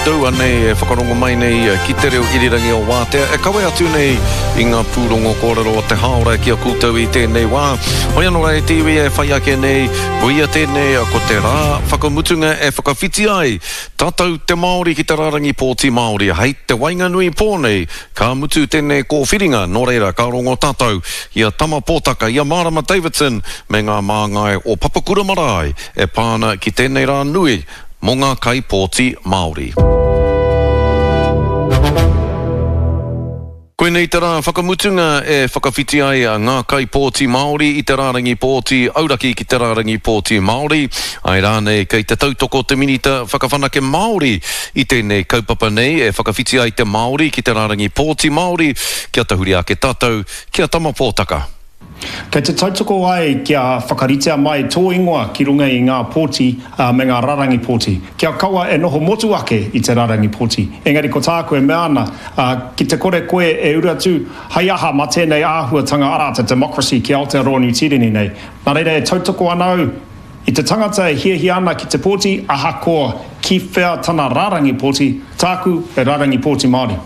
Tou anei e whakarongo mai nei ki te reo irirangi o Wātea e kawe atu nei i ngā pūrongo kōrero o te hāora ki a koutou i tēnei wā. Hoi anō rā e te iwi e whai ake nei, koia tēnei ko te rā whakamutunga e whakawhiti ai tātou te Māori ki te rārangi pōti Māori hei te waenganui pō nei ka mutu tēnei kōwhiringa nō reira ka rongo tātou i a Tama Pōtaka, i a Mārama Davidson me ngā māngai o Papakura Marae e pā ana ki tēnei rā nui mō ngā kaipōti Māori. Koinei te rā whakamutunga e whakawhiti ai ngā kaipōti Māori i te rārangi pōti auraki ki te rārangi pōti Māori. Āe rānei kei te tautoko te Minita Whakawhanake Māori i tēnei kaupapa nei e whakawhiti ai te Māori ki te rārangi pōti Māori kia tahuri ake tātou ki a Tama Pōtaka. Kei te tautoko ai kia whakaritea mai tō ingoa ki runga i ngā pōti me ngā rarangi pōti. Kia kaua e noho motu ake i te rarangi pōti. Engari ko tāku e mea ana, ki te kore koe e uru atu, hei aha mā tēnei āhuatanga arā te democracy ki Aotearoa Niu Tīreni nei. Nā reira e tautoko ana au i te tangata e hiahia ana ki te pōti ahakoa ki whea tana rarangi pōti, tāku he rarangi pōti Māori.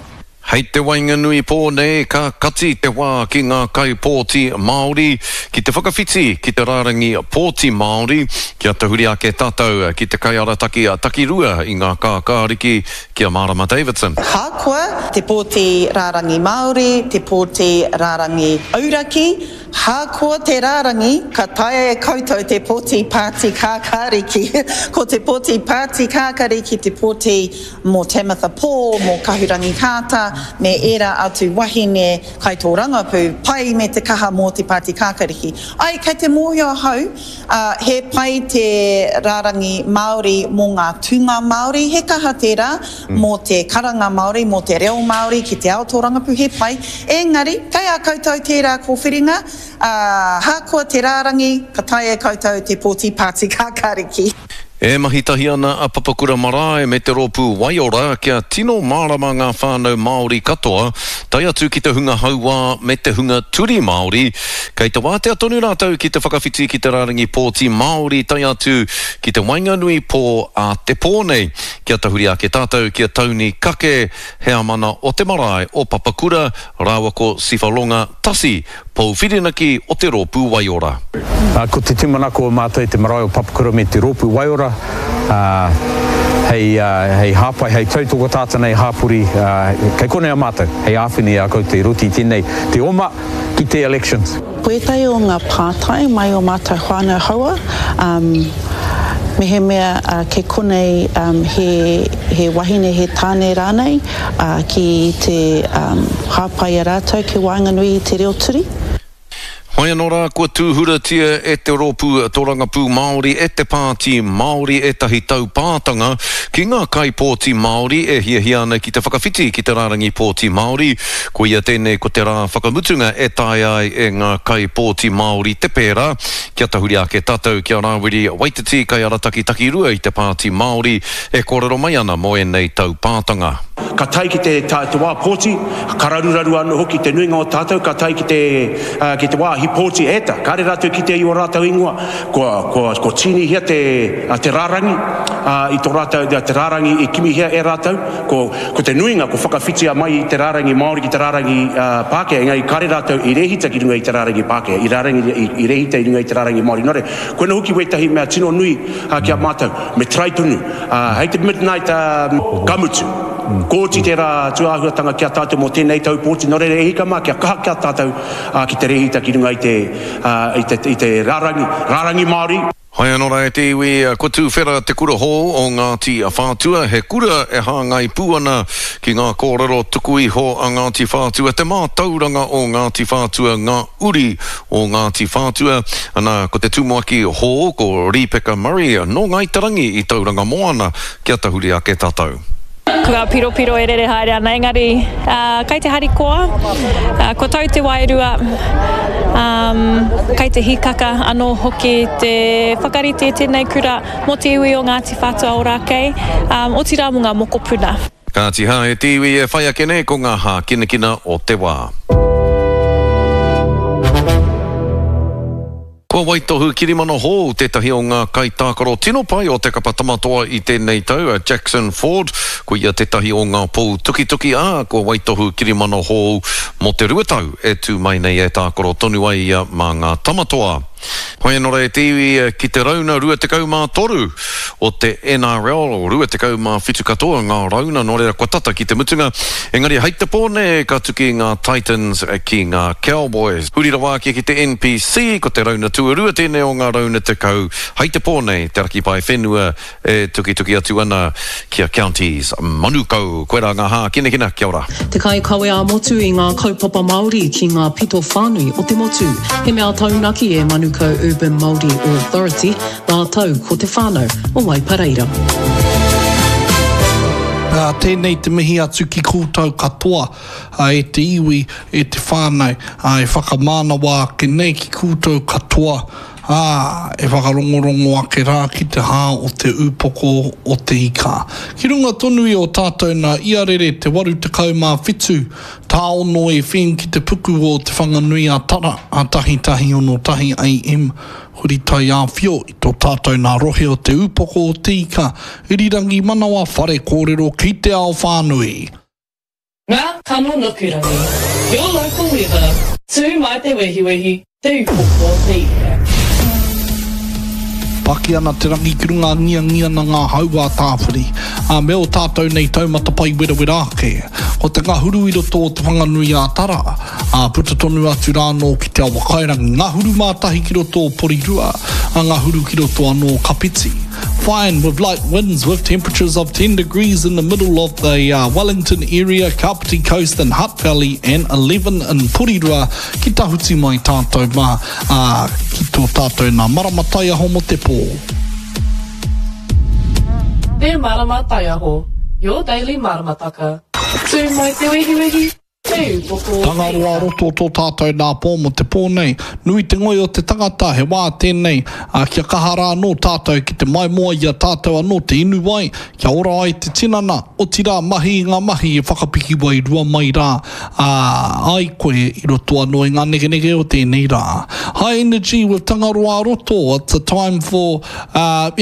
Hei te waenganui pō nei ka kati te wā ki ngā kaipōti Māori ki te whakawhiti ki te rārangi pōti Māori kia tahuri ake tātou ki te kaiarataki takirua i ngā kākāriki ki a Mārama Davidson. Hākoa te pōti rārangi Māori, te pōti rārangi auraki, hākoa te rārangi, ka taea e koutou te pōti pāti kākāriki. Ko te pōti pāti kākariki te pōti mō Tamatha Paul, mō Kahurangi Carter, me ērā atu wahine kaitōrangapū pai me te kaha mō te Pāti Kākariki. Ai, kei te mōhio ahau, ā, he pai te rārangi Māori mō ngā tūnga Māori, he kaha tērā mō te karanga Māori, mō te reo Māori ki te ao tōrangapū, he pai. Engari, kei a koutou tērā kōwhiringa, ā, hākoa te rārangi, ka taea e koutou te pōti Pāti Kākariki. E mahi tahi ana a Papakura Marae me te rōpū Waiora kia tino mārama ngā whānau Māori katoa, tae atu ki te hunga hauā me te hunga turi Māori, kei te wātea tonu rātou ki te whakawhiti ki te rārangi pōti Māori tae atu ki te waenganui pō a te pō nei. Kia tahuri ake tātou ki a Tauni Kake, heamana o te marae o Papakura, rāua ko Sifa Longa Tasi, Pou Whirinaki o te Rōpū Waiora. Ko te tūmanako o mātou i te marae o Papakura me te Rōpū Waiora, hei, hei hāpai, hei tautoko tātou nei hāpori, kei konei a mātou, hei āwhina i a koutou i roto i tēnei, te oma ki te elections. Ko ētahi o ngā pātai mai o mātou whānau haua, mehemea kei konei he, he wahine, he tāne rānei, ā, ki te hāpai i a rātou ki waenganui i te reo turi. Hoi anō rā, kua tūhuratia e te Rōpū Torangapū Māori, e te Pāti Māori ētahi taupātanga ki ngā kaipōti Māori e hiahia ana ki te whakawhiti ki te rārangi pōti Māori. Koia tēnei ko te rā whakamutunga e taea ai e ngā kaipōti Māori te pērā. Kia tahuri ake tātou ki a Rāwiri Waititi, kaiarataki takirua i te Pāti Māori, E kōrero mai ana mō ēnei taupātanga. Ka tae ki te, te wā pōti, ka raruraru anō hoki te nuinga o tātou, ka tae ki te, ki te wāhi pōti, e ta, kāre rātou kite i ō rātou ingoa, kua, kua, kua tīnihia te, te rārangi, ā, i tō rātou, te rārangi i kimihia e rātou, ko, ko te nuinga kua whakawhitia mai i te rārangi Māori ki te rārangi Pākehā, engari kāre rātou i rēhita ki runga i te rārangi Pākehā, i rārangi, i, i rēhita i runga i te rārangi Māori. Nō reira, koina hoki wētahi mea tino nui, ā, ki a mātou. Me try tonu. Ā, hei te midnight, ā, ka mutu. Kua oti tērā tūāhuatanga ki a tātou mō tēnei tau pōti, nō reira e hika mā, kia kaha ki a tātou, ā, ki te rēhita ki runga i te, ā, i te, i te rārangi, rārangi Māori. Hai anō rā e te iwi, kua tūwhera te kura hou o Ngāti Whātua, he kura e hāngai pū ana ki ngā kōrero tuku iho a Ngāti Whātua, te mātauranga o Ngāti Whātua, ngā uri o Ngāti Whātua, ana, ko te tumuaki hou ko Rīpeka Murray nō Ngāi Te Rangi i Tauranga Moana, kia tahuri ake tātou. Ko ngā piropiro e rere haere ana, engari kei te harikoa, kua tau te wairua, kei te hīkaka anō hoki te whakarite i tēnei kura mō te iwi o Ngāti Whātua Ōrākei, otirā mō ngā mokopuna. Kāti hā e te iwi e whai ake nei ko ngā hākinakina o te wā. Kua waitohu kirimana hou tētahi o ngā kaitākaro tino pai o te kapa Tamatoa i tēnei tau, a Jackson Ford. Ko ia tētahi o ngā pou tukituki, ā, kua waitohu kirimana hou mō te rua tau e tū mai nei e tākaro tonu ai ia mā ngā Tamatoa. Hoi anō rā e te iwi ki te rauna 23 o te NRL, 27 katoa ngā rauna, nō reira kua tata ki te mutunga. Engari hei te pō nei ka tuki ngā Titans ki ngā Cowboys. Huri rawa ake ki te NPC, ko te rauna tuarua tēnei o ngā rauna 10, hei te pō nei te raki paewhenua E tukituki atu ana ki a Counties Manukau. Koirā ngā hākinakina, kia ora. Te kaikawe ā-motu i ngā kaupapa Māori ki ngā pito whānui o te motu. He mea taunaki e Manukau Urban Māori Authority rātou ko te whānau o Waipareira. Ā, tēnei te mihi atu ki koutou katoa, ā, e te iwi, e te whānau, ā, e whakamānawa ake nei ki koutou katoa, Ā, e whakarongorongo ake rā ki te hā o te ūpoko o te ika. Ki runga tonu i ō tātou nā iarere te 87 tāono FM ki te puku o Te Whanganui a Tara, a 1161 AM, huri taiāwhio i tō tātou nā rohe o te ūpoko o te ika, irirangi manawa whare kōrero ki te ao whānui. Ngā kano nukurangi, your local weather, tū mai te wehiwehi, te upoko o te ika. Paki ana te rangi ki runga angiangi ana ngā hau ā Tāwhiri, ā, me ō tātou nei taumata pai werawera ake. Ko te ngahuru i roto o Te Whanganui ā Tara, ā, puta tonu atu rā anō ki Te Awakairangi, ngahuru mā tahi ki roto o Porirua, ā, ngahuru ki roto anō o Kapiti. Fine with light winds with temperatures of 10 degrees in the middle of the uh, Wellington area, Kapiti Coast and Hutt Valley and 11 in Porirua ki tahuti mai tātou mā, uh, ki tō tātou nā marama taiaho mo te pō. Te Marama Taiaho, your daily maramataka. Tū mai te wehiwehi, Te upoko o te Tangaroa ika. roto tō tātou nā pō mō te pō nei. Nui te ngoi o te tangata, he wā tēnei, ā, kia kaha rā anō tātou ki te maimoa i a tātou anō te inu wai, kia ora ai te tinana, otirā mahi i ngā mahi e whakapiki wairua mai rā, ā, ai koe i roto anō i ngā nekeneke o tēnei rā. High energy with Tangaroa Roto, it's a time for, ā,